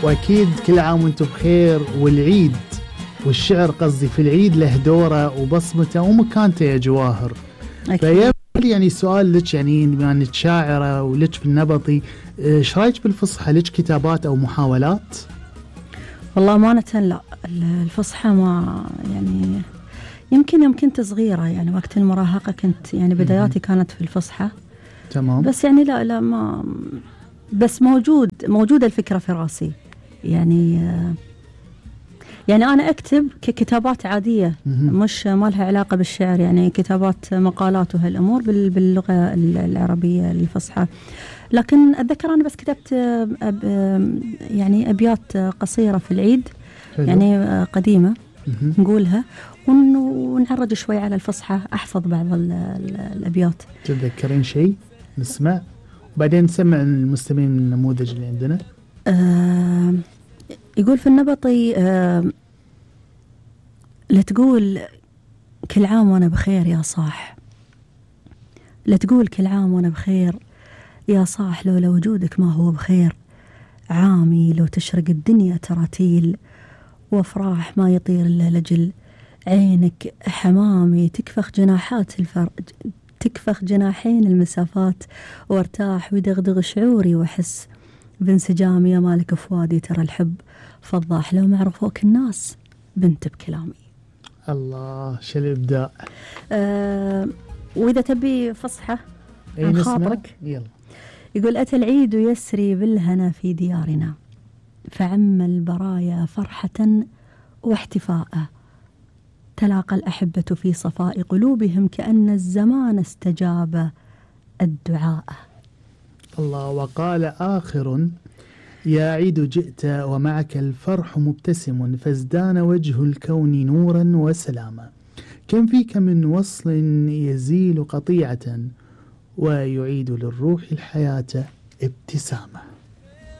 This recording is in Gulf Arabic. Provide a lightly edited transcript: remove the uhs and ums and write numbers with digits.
وأكيد كل عام وانتم بخير. والعيد والشعر قصدي في العيد له دوره وبصمته ومكانته يا جواهر. فيبقى يعني سؤال لك، يعني بما انك شاعرة ولك بالنبطي، ايش رايك بالفصحى؟ لك كتابات او محاولات؟ والله أمانة لا، الفصحى ما يعني يمكن يوم كنت صغيرة، يعني وقت المراهقة كنت يعني بداياتي كانت في الفصحى. تمام. بس يعني لا ما بس موجودة الفكرة في راسي. يعني أنا أكتب ككتابات عادية، مش ما لها علاقة بالشعر، يعني كتابات مقالات وهالأمور باللغة العربية الفصحى. لكن أتذكر أنا بس كتبت يعني أبيات قصيرة في العيد. حلو. يعني قديمة نقولها ونعرج شوي على الفصحى، أحفظ بعض الأبيات. تتذكرين شيء نسمع وبعدين نسمع المستمعين من النموذج اللي عندنا؟ يقول في النبطي لا تقول كل عام وأنا بخير يا صاح، لا تقول كل عام وأنا بخير يا صاح، لولا وجودك ما هو بخير. عامي لو تشرق الدنيا تراتيل، وافراح ما يطير إلا لجل. عينك حمامي تكفخ جناحين المسافات، وارتاح ويدغدغ شعوري واحس بانسجامي. يا مالك فؤادي ترى الحب فضاح، لو ما عرفوك الناس بنت بكلامي. الله شو الإبداع. وإذا تبي فصحى عن خاطرك يلا. يقول أتى العيد يسري بالهنا في ديارنا، فعم البرايا فرحة واحتفاء. تلاقى الأحبة في صفاء قلوبهم، كأن الزمان استجاب الدعاء. الله. وقال آخر يا عيد جئت ومعك الفرح مبتسم، فازدان وجه الكون نورا وسلاما. كم فيك من وصل يزيل قطيعة، ويعيد للروح الحياة ابتسامة.